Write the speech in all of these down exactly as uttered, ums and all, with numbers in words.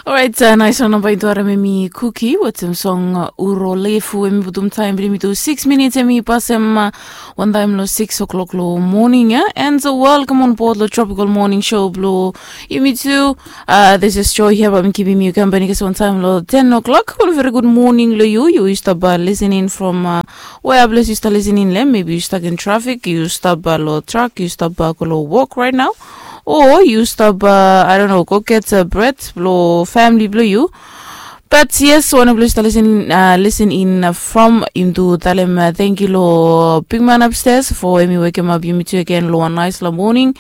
Orait, nais wan namba i tu harem, em i Kuki wetem song Uro Lefu. Em i putum taem blong yumi tu six minits, em i pasem wantaem long six o'clock long moning ya. And welcome on board long Tropical Morning Show blong yumi tu. This is Joy hia, bae mi kipim yu kampani kasem wantaem long ten o'clock. Ol veri gud moning long yu. Yu stap lisening from wea ples yu stap lisening long hem? Maybe yu stap in trafik, yu stap long trak, yu stap go long wok right now, o yu stap, I don't know, go get bred blong famili blong yu. But yes, wanpela yu stap lisening from, yumi tu talem tangkiu long bigman upstairs fo em i wekemap yumi tu agen long wan naispela moning.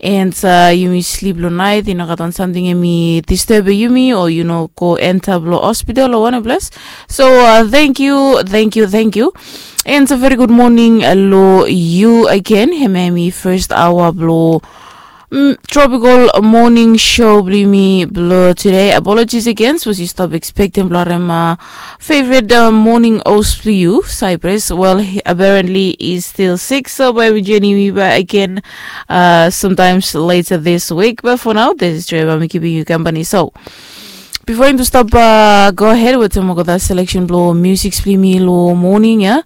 And yumi slip long naet, i no gat wan samting em i disturb yumi, o yu no go enta long hospital o wanpela ples. So tangkiu, tangkiu, tangkiu. And a veri gud moning long yu agen. Hem ya em i first aoa blong Tropical Morning Show blong yumi blong tude. Apologies again, sapos yu stap expectem blong harem favorite morning host blong yu, Cyprus. Well, apparently is still sick, so bae mi joinim yu back again sometimes later this week. But for now, this is Joy, bae mi kipim yu kampani. So bifo yumi tu stap go ahed wetem olgeta selection blong music blong yumi long moning ya,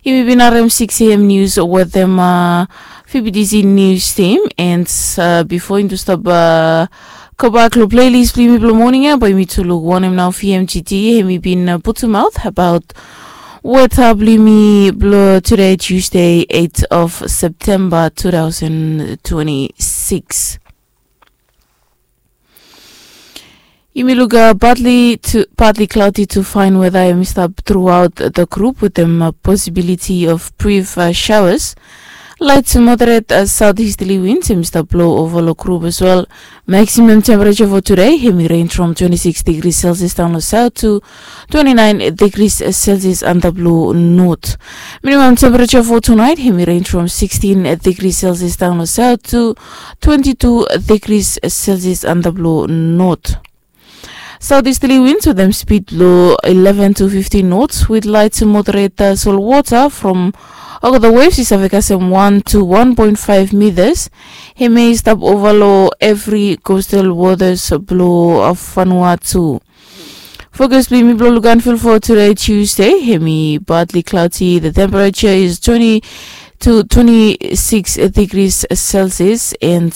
yumi bin harem six a.m. news wetem F B T C news team. And bifo yumi tu stap gobak long playlist blong yumi blong moning ya, bae yumi tu luk wanem nao V M G T hem i bin putumaot abaot weta blong yumi blong tude, Tuesday, eight of September two thousand twenty-six. Yumi luk partly cloudy to fine weather em i stap throughout the group wetem possibility of brief showers. Light to moderate southeasterly winds em i stap blow ova long group as well. Maximum temperature for today hem i range from twenty-six degrees Celsius down long south to twenty-nine degrees Celsius antap long north. Minimum temperature for tonight hem i range from sixteen degrees Celsius down long south to twenty-two degrees Celsius antap long north. Southeasterly winds wetem speed long eleven to fifteen knots with light to moderate salt water from olgeta waves i save kasem one to one point five meters. Hem ya i stap ova long evri coastal waters blong Vanuatu. Fokas blong yumi blong lukaot ful for today, Tuesday, hem i partly cloudy. The temperature is twenty to twenty-six degrees Celsius, and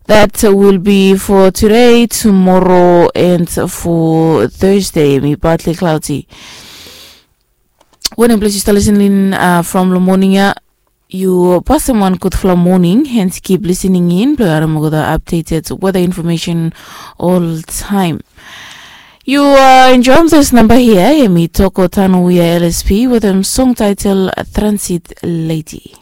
that will be for today, tomorrow, and for Thursday, hem i partly cloudy. Wanem ples yu stap lisening from long moning ya, yu pasem wan gudfala moning and kip lisening in blong yu harem olgeta updated weather information oltaem. Yu enjoem this namba hia, hem i Toko Tanowia L S P wetem song title Transit Lady.